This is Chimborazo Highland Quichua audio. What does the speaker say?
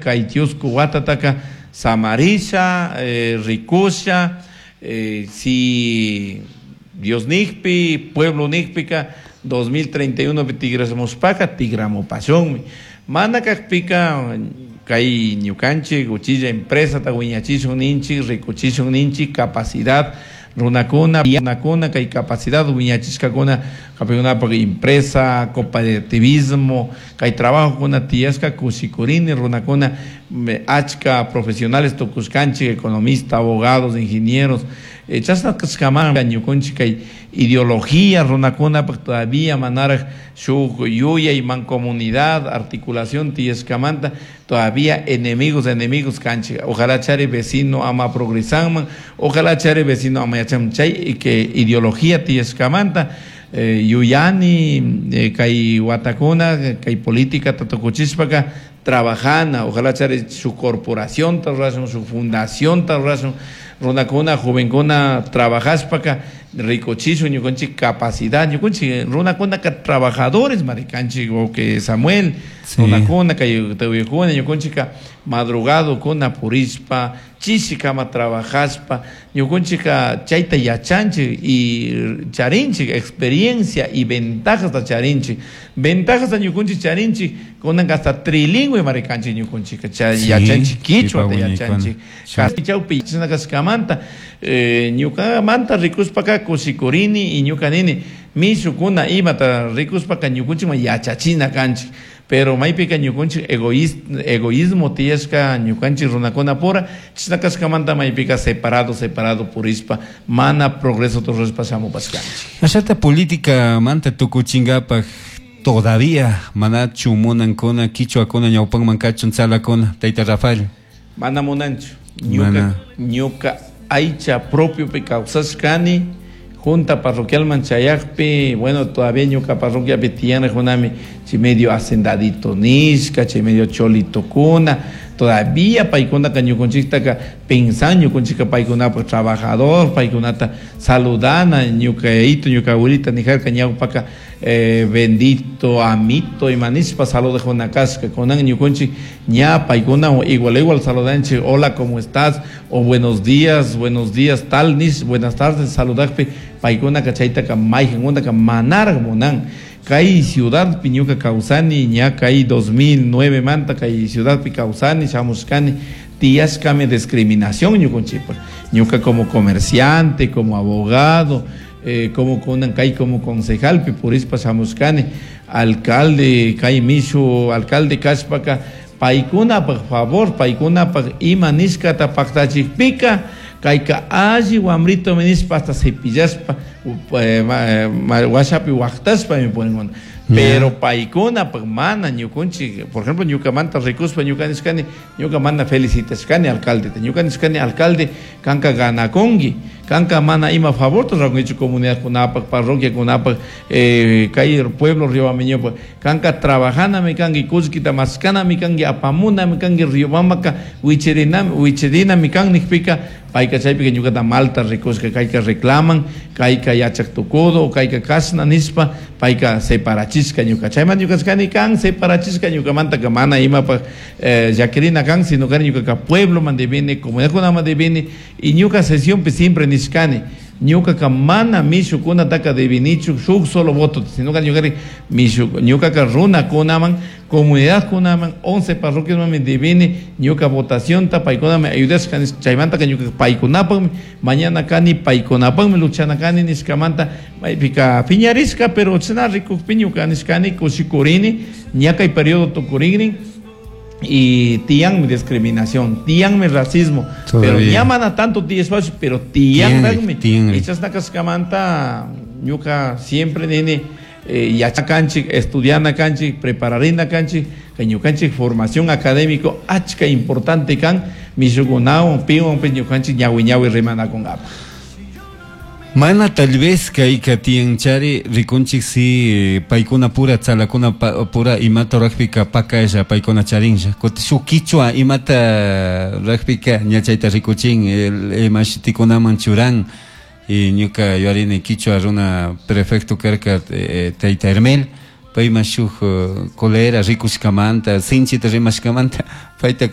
Kay chusku watataka samarisha, rikusha, si Dios nijpi, pueblo nijpika 2031 pi tigramushpaka tigramupashunmi. Mana kakpika kay ñukanchik uchilla empresata wiñachishun ninchik, rikuchishun ninchik capacidad runakuna, runakuna kay capacidad wiñachishkakuna kapikunapak empresa, cooperativismo, kay trabajokuna tiyashka kushikurini runakuna achka profesionales tukushkanchik, economista, abogados, ingenieros, chashna kashkaman ñukunchik kay ideología runakunapak todavía manaraj shuk yuyay mancomunidad, articulación tiyashkamanta todavía enemigos, enemigos kanchik. Ojalá chari vecino ama progresanman, ojalá chari vecino ama yachan chay que ideología tiyashkamanta, yuyani, kay watakuna, kay política tatukuchishpaka trabajana, ojalá chari su corporación rurashun, su fundación rurashun, runakuna, jovenkuna trabajashpaka rikuchishun ñukanchik capacidad, ñukanchik runakunaka trabajadores marikanchik, o que Samuel, runakuna, kay tawikuna, ñukanchika madrugado kuna purishpa, chishikama trabajashpa, ñukanchika chayta yachanchik y charinchik experiencia y ventajas ta charinchik, ventajas ta ñukanchik charinchik, kunan hasta trilingüe marikanchik ñukanchika, yachanchik quichua ta yachanchik, chawpi chashna kashkamanta, ñukamanta rikushpaka kushikurini y ñuka nini mishukuna imata rikushpaka ñukanchikman yachachina kanchik, pero maypika ñukanchik egoísmo tiyashka ñukanchik runakuna pura, chashna kashkamanta maypika separado, separado purishpa, mana progreso rurashpa shamupashkanchik. Ashata política manta tukuchinkapak todavía manachu munankuna quichuakuna ñawpanman kachun tzalakuna, tayta Rafael. Mana munanchu. Ñuka, ñuka aycha propio pi kawsashkani, junta parroquialman chayakpi, bueno, todavía ñuka parroquiapi tiyanajunami, chay medio hacendadito nishka, chay medio cholito kuna, todavía paykunaka ñukanchiktaka pensan ñukanchika paykunapaj trabajador, paykunata saludana, ñuka yayito, ñuka abuelita nijarka ñawpaka, bendito, amito, imanishpa saludajuna kashka, kunan ñukanchik ña paykuna igual igual saludanchik, hola, ¿cómo estás? O buenos días, tal nish, buenas tardes, saludakpi paykunaka chaytaka mayjankunaka manaraj munan. Kay ciudad pi ñuka kawsani, ña kay 2009 manta kay ciudad pi kawsani, shamushkani, tiyashkami discriminación ñukanchikpak. Ñuka como comerciante, como abogado, como kunan kay como concejal pi purishpa shamushkani, alcalde kay mishu, alcalde kashpaka, paykunapaj favor, paykunapaj ima nishkata paktachikpika, kayka alli wamrito nishpa hasta cepillashpa, washapi waqtashpa mi ponen. Pero paykunapaj mana ñukunchik, por ejemplo, ñukamanta rikushpa ñuka nishkani, ñuka mana felicitashkani alcaldeta, ñuka nishkani alcalde kanka ganakunki, kanka mana ima favor rurakunkichu comunidadkunapaj, parroquiakunapaj, kay pueblo Riobambeñopaj, kanka trabajanami kanki, kullkita maskanami kanki, apamunami kanki, Riobambaka wichirinami, wichirinami kan nijpika, payka chaypika ñukata malta rikushka, kayka reclaman, kayka yachak tukudo, kayka kashna nishpa, payka separachishka ñuka. Chayman ñuka kani kan separachishka ñukamantaka mana imapaj, llakirina kan, sino kani ñukaka pueblo man devini, comunidadkunaman devini, y ñuka sesionpi siempre nishkani, ñukaka mana mishukunataka devinichu shuk solo voto, sino que ñukari mishu, ñukaka runakunaman, comunidadkunaman, 11 parroquiasman devini, ñuka votacionta paykunami ayudashka, chaymantaka ñuka paykunapakmi, mañana kani paykunapakmi luchana kani nishkamanta, maypika piñarishka, pero chashna rikukpi ñuka nishkani kushikurini, ña kay periodo tukurikrin, y tiyanmi discriminación, tiyanmi racismo, pero Todavía. ña mana tanto tiyashpachu, pero tiyanraqmi. Tiyanri, tiyanri. Y chashna kashkamanta ñuka siempre nini, yachakanchik, estudiana kanchik, prepararina kanchik, kay ñukanchik formación académico achka importante kan, mishukunawan, piwan, pues ñukanchik ñawi ñawi rimanakunkapa. Mana tal vez kayka tiyanchari rikunchik si paykuna pura tzalakuna pura imata rajpika pakalla paykuna charinlla. Kuti shuk kichwa imata rajpika ña chayta rikuchin, el imashitikunaman churan. Y ñuka yuarini kichwa runa prefecto karka, tayta Hermel, payman shuk kolera rikushkamanta, sinchita rimashkamanta, payta